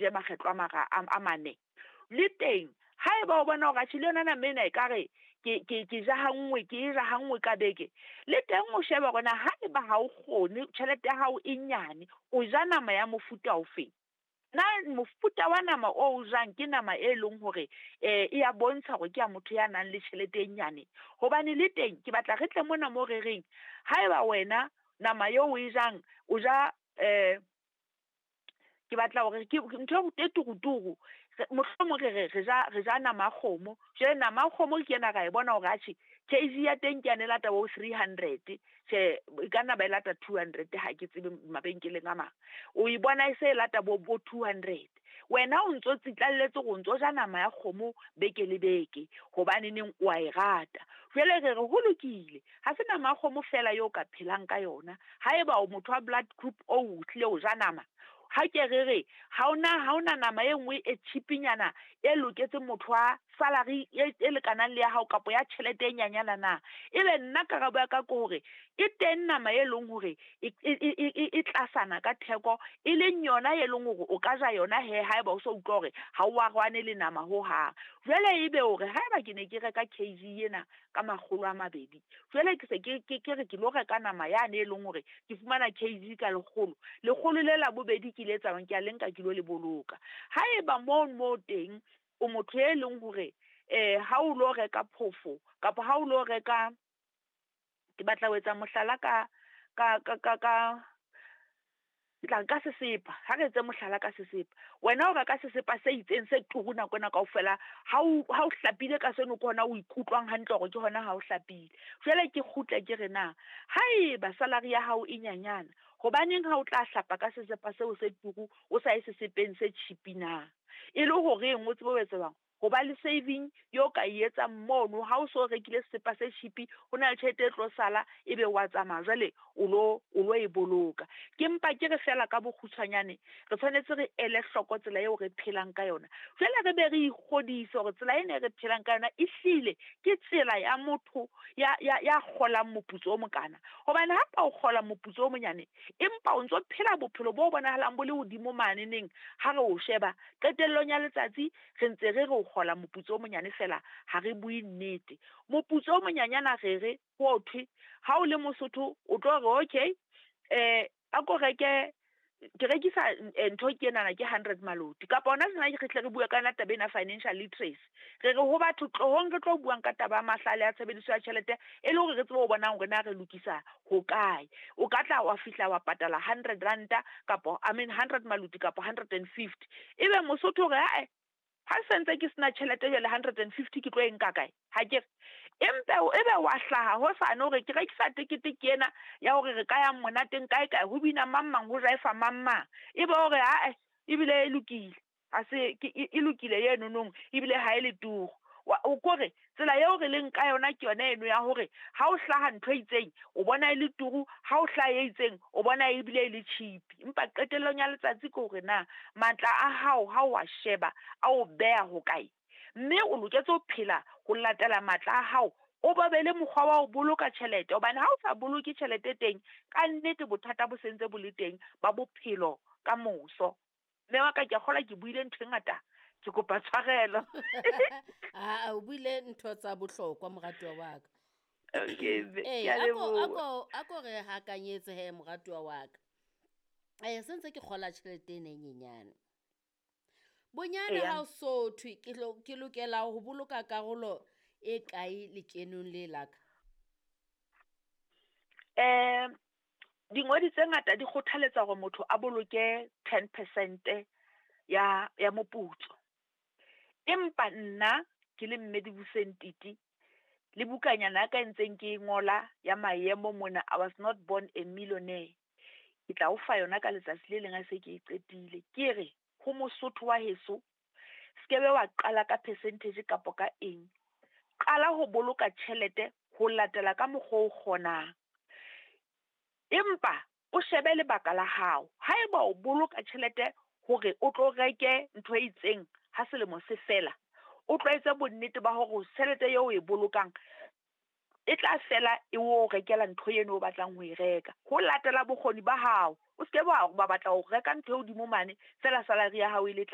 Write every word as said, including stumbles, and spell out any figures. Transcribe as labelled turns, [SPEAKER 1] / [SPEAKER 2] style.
[SPEAKER 1] je makgetlo a mara a mane. Le teng haeba o bona hore atjhe le yona nama ena ekare ke ke ke ja ha nngwe, ke e ja ha nngwe ka beke, le teng o shebe hore na haeba ha o kgone, tjhelete ya hao e nyane, o ja nama ya mofuta ofeng. Na mofuta wa nama o o jang ke nama e leng hore eh e ya bontsha hore ke ya motho ya nang le tjhelete e nyane. Hobane le teng ke batla re tle mona mo re reng haeba wena nama eo o e jang o ja eh ke batla hore ke ntho e turuturu, mohlomong re re re ja re ja nama ya kgomo. Jwale nama ya kgomo ke ena ra e bona hore atjhe K G ya teng ke yane e lata bo three hundred, tjhe e ka nna ba e lata two hundred, ha ke tsebe mabenkeleng a mang. O e bona e se e lata bo bo two hundred. Wena o ntso tsitlalletse hore o ntso ja nama ya kgomo beke le beke hobaneneng wa e rata. Jwale re re ho lokile, ha se nama ya kgomo feela eo ka phelang ka yona. Haeba o motho wa blood group O, o hlile o ja nama, ha ke re re ha ona ha ona nama e nngwe e cheap-nyana e loketseng motho wa salary e e lekanang le ya hao kapa ya tjhelete e nyanyana na? Ebe nna karabo ya ka ke hore e teng nama e leng hore e e e tlasana ka theko, e leng yona e leng hore o ka ja yona hee haeba o so utlwa hore ha o arwane le nama hohang. Jwale ebe hore haeba ke ne ke reka K G ena ka makgolo a mabedi, jwale ke se ke ke re ke lo reka nama yane e leng hore ke fumana K G ka lekgolo, lekgolo le la bobedi ke le etsang ke a le nka ke lo le boloka. Haeba moo mo teng o motho e leng hore eh ha o lo reka phofo kapa ha o lo reka, ke batla ho etsa mohlala ka ka ka ka ka ke tla nka sesepa, ha re etse mohlala ka sesepa. Wena o reka sesepa se itseng se turu nako ena kaofela, ha o ha o hlapile ka seno ke hona o ikutlwang hantle hore ke hona ha o hlapile. Jwale ke kgutle ke re na haeba salary ya hao e nyanyana, hobaneng ha o tla hlapa ka sesepa seo se turu, o sa ye sesepeng se cheap na? E le horeng o tsebe ho etsa jwang? Ho ba le saving eo ka e etsang mono ha o so rekile sesepa se cheap, ho na le tjhelete e tlo sala, ebe wa tsamaya jwale o lo o lo e boloka. Ke mpa ke re feela ka bokgutshwanyane re tshwanetse re ele hloko tsela eo re phelang ka yona. Jwale re be re ikgodise hore tsela ena e re phelang ka yona ehlile ke tsela ya motho ya ya ya kgolang moputso o mokana. Hobane ha ka o kgola moputso o monyane, empa o ntso phela bophelo bo bonahalang bo le hodimo mane neng ha re o sheba, qetellong ya letsatsi re ntse re re o kgola moputso o monyane feela, ha re bue nnete. Moputso o monyanyana re re ho thwe ha o le Mosotho o tlo re okay eh a ko reke, ke rekisa ntho ke enana ke hundred maloti, kapa hona tjena re hle re bua ka yona taba ena financial literacy. Re re ho batho tlohong re tlo buang ka taba ya mahlale a tshebediso ya tjhelete e le hore re tsebe ho bonang hore na re lokisa hokae. O ka tla wa fihla wa patala hundred ranta kapa I mean hundred maloti kapa hundred and fifty. Ebe Mosotho o re ae ha se ntse ke sena tjhelete jwale hundred and fifty ke tlo e nka kae? Ha ke re empa ebe wa hlaha hosane hore ke rekisa tekete ke ena ya hore re ka yang monateng kae kae, ho bina mang mang, ho jaefa mang mang, ebe hore ae ebile e lokile, ha se e lokile eno ebile ha e le turu. O kore tsela eo re leng ka yona ke yona eno ya hore ha o hlaha ntho e itseng o bona e le turu, ha o hlaha e itseng o bona ebile e le cheap. Empa qetellong ya letsatsi ke hore na matla a hao ha o a sheba a o beha hokae, mme o loketse ho phela ho latela matla a hao, o ba be le mokgwa wa ho boloka tjhelete. Hobane ha o sa boloke tjhelete teng, ka nnete bothata bo sentse bo le teng ba bophelo ka moso. Mme wa ka, ke a kgolwa ke buile ntho e ngata, ke kopa tshwarelo.
[SPEAKER 2] Aa, o buile ntho tsa bohlokwa, moratuwa wa ka.
[SPEAKER 1] Okay mme,
[SPEAKER 2] Ee,
[SPEAKER 1] ke a
[SPEAKER 2] ako
[SPEAKER 1] leboha.
[SPEAKER 2] ako ako re hakanyetse he, moratuwa wa ka. Eh se ntse ke kgola tjhelete ena e nyenyane. Bonyane
[SPEAKER 1] Eya.
[SPEAKER 2] ha o so thwe ke lo ke lokela ho boloka karolo e kae lekenong le la ka?
[SPEAKER 1] Eh dingodi tse ngata di kgothaletsa hore motho a boloke ten percent ya ya moputso. Empa nna ke le mme Dibuseng Titi le bukanyana ya ka e ntseng ke e ngola ya maemo mona, I Was Not Born a Millionaire. Ke tla o fa yona ka letsatsi le leng ha se ke e qetile. Ke re ho Mosotho wa heso, skebe wa qala ka percentage kapa ka eng. Qala ho boloka tjhelete ho latela ka mokgwa o kgonang. Empa o shebe lebaka la hao. Haeba o boloka tjhelete hore o tlo reke ntho e itseng ha selemo se fela, o tlwaetse bonnete ba hore tjhelete eo o e bolokang e tla fela e o rekela ntho eno o batlang ho e reka. Ho latela bokgoni ba hao. O ske wa ba batla ho reka ntho e hodimo mane feela salary ya hao e le tlase.